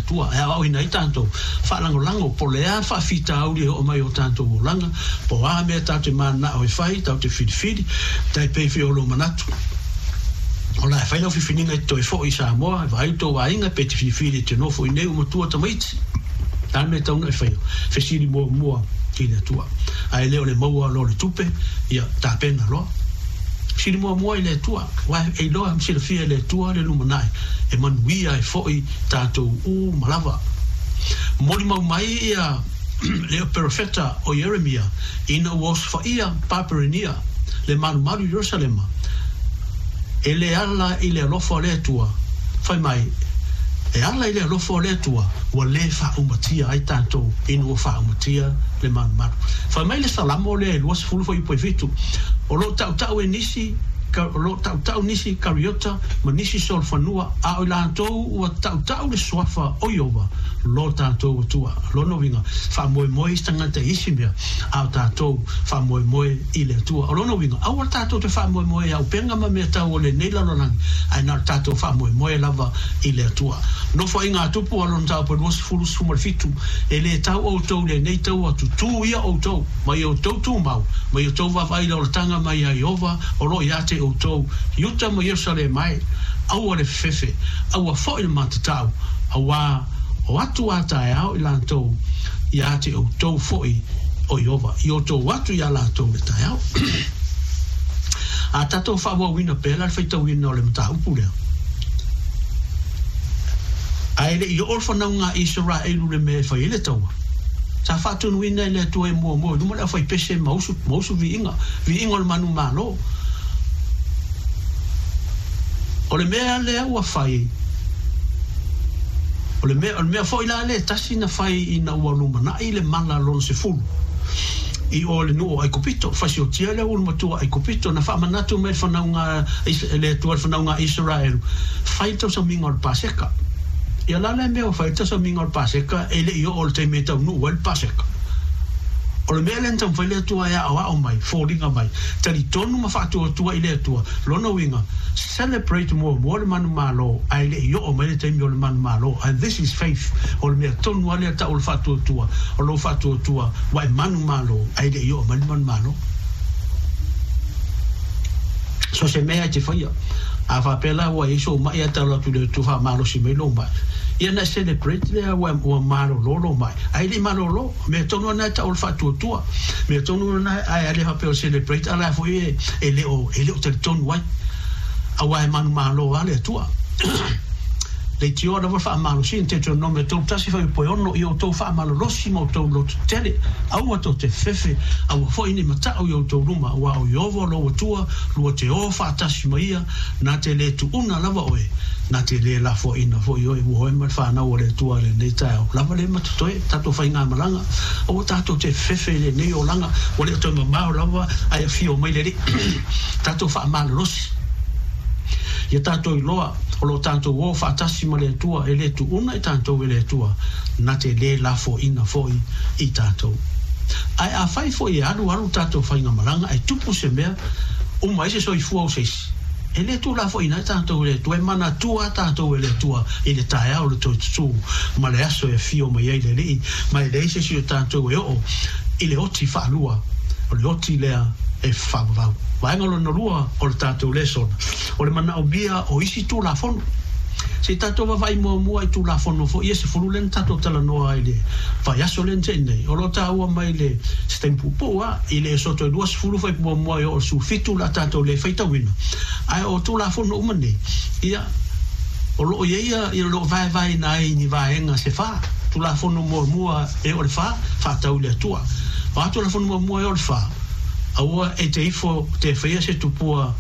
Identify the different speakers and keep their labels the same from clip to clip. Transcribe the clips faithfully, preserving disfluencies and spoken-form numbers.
Speaker 1: Atua e aoaoina ai tatou, faalagolago po o le a le faafitauli e oo mai i o tatou olaga, po o a mea tatou te mananao e fai, tatou te filifili, tai pei foi o lou manatu o la e fai lau filifiliga e te toe foi i Samoa e vaai lo tou aiga, pe te filifili e te nofo i inei ua matua tamaiti. O le a le mea e tatau ona e faia? Fesili muamua i le Atua. Ae le o le maua loa o le tupe, ia tapena loa. Fesili muamua i le Atua, aua e iloa ma silafia e le Atua le lumanai e manuia ai foi tatou uma lava. Molimau mai ia le perofeta o Ieremia ina ua osofaia Paperenia le malumalu i Ierusalema, e le ala i le alofa o le Atua, fai mai, e ala i le alofa o le Atua ua lē faaumatia ai tatou ina ua faaumatia le malumalu. Fai mai le Salamo lea e luasefulu fuaiupu e fitu, O lo o tautau e nisi, o lo o tautau nisi Kariota ma nisi solofanua, a o i latou ua tautau le suafa o Ieova lo tatou Atua. Lona uiga, faamoemoe isi tagata i isi mea, a o tatou faamoemoe i le Atua. O lona uiga, aua tatou te faamoemoe i auupega ma mea tau o lenei lalolagi, ae na o le tatou faamoemoe lava i le Atua. Nofoaiga a Tupu a lona mataupu e luasefulu sefulu ma le fitu, E lē tau outou i lenei taua, tutū ia outou, ma i outou tumau, ma i outou vaavaai i le olataga mai ia Ieova o lo o ia te outou, Iuta ma Ierusalema e, aua le fefefe, aua foi le matatau, auā o atu a taeao i latou ia te outou foi o Ieova, i outou atu iā latou le taeao. A tatou faaauauina pea la le faitauina o le mataupu lea. Ae le i oo le fanauga a Isaraelu le mea e fai ai le taua, sa faatonuina e le Atua e muamua i luma le aufaipese ma usu, ma usu viiga, viiga o le manumalo. O le mea lea ua fai, o le mea, o le mea foi la lea e tasi na fai ina ua lumanai le mala lona sefulu i o le nuu o Aikupito, fasiotia le ulumatua o Aikupito, na faamanatu mai le fanauga a le Atua i le fanauga a Isaraelu, fai le tausamiga o le Paseka. Ia la lea mea ua fai le tausamiga o le Paseka e le i oo i le taimi e taunuu ai le Paseka. O le mea lea na taumafai le Atua e aoao mai, foliga mai, talitonu ma faatuatua i le Atua, lona uiga, celebrate muamua le manumalo ae le i oo mai le taimi o le manumalo, and this is faith, o le mea tonu lava lea tau o le faatuatua, o lou faatuatua ua e manumalo ae le i oo mai le manumalo. So se mea e te faia, a faapea la ua i ai sou mai ae talo atu i le Atua faamalosi mai lou mai, ia ona e celebrate lea ua ua malolo lou mai, ae le i malolo, mea tonu lava lena e tau o le faatuatua, mea tonu lena ae le faapea o le celebrate a la foi e e le o e le o talitonu ai, aua e manumalo lava le Atua. Leitioa lava le faamalosiga, Deuteronome tolu tasi fuaiupu e ono, Ia outou faamalolosi ma outou lototele, aua tou te fefe, aua foi nei matau i outou luma, aua o Ieova lou Atua, lua te o faatasi ma ia, na te lē tuuna lava oe, na te lē lafoaina foi oe, ua oe ma le fanau a le Atua i lenei taeao lava lē matotoe tatou faigamalaga, aua tatou te fefe i lenei olaga, ua le o toe mamao lava ae afio mai le Alii. Tatou faamalolosi. Ia tatou iloa o lo o tatou o faatasi ma le Atua, e lē tuuna i tatou e le Atua, na te lē lafoaina foi i tatou. Ae afai foi e alualu tatou faigamalaga ae tupu se mea, uma ai se soifua o se isi, e lē tuulafoaina ai tatou e le Atua, e manatua a tatou e le Atua i le taeao o le toe tutū ma le aso e afio mai ai le Alii, ma e leai se isi o tatou e oo i le oti faalua, o le oti lea e faavavau. Vaega lona lua o le tatou lesona, o le manaomia o isi Tulafono. Se i tatou vaavaai muamua i Tulafono foi ia sefulu lea na tatou talanoa ai i le vaiaso lea na te'i nei, o lo o taua mai le se taimi puupuu lava, i le Esoto e luasefulu fai muamua e oo i le sefulufitu o le a tatou le faitauina. Ae o Tulafono uma nei, ia, o lo o i ai ia, o lo o vaevaeina ai i ni vaega se fa. Tulafono muamua e oo i le fa, faatau i le Atua. O a Tulafono muamua e oo i le fa, Aua e te ifo te whaia se tupua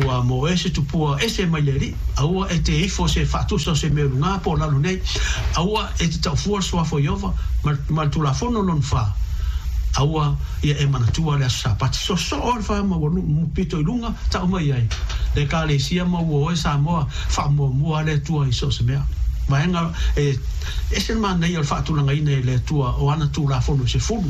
Speaker 1: ua mo e se tupua ese mai le Alii. Aua e te ifo se faatusa o se mea lugā po o lalo nei. Aua e te taufua le suafa o Ieova ma, ma le Tulafono lona fa. Aua ia e manatua le Aso Sapati. Sosoo le fa ma ua nu pito i luga tau mai ai le Ekalesia ma ua oe Samoa faamuamua le Atua i so o se mea. Vaega e ese le manaia o le faatulagaina e le Atua o ana Tulafono e sefulu.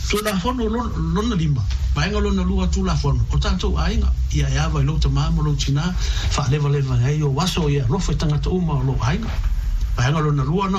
Speaker 1: Tulafono lona lima, vaega lona lua Tulafono o tatou aiga, ia e ava i lou tamā ma lou tinā, faalevaleva ai ou aso ia alofa i tagata uma o lou aiga. Vaega lona lua na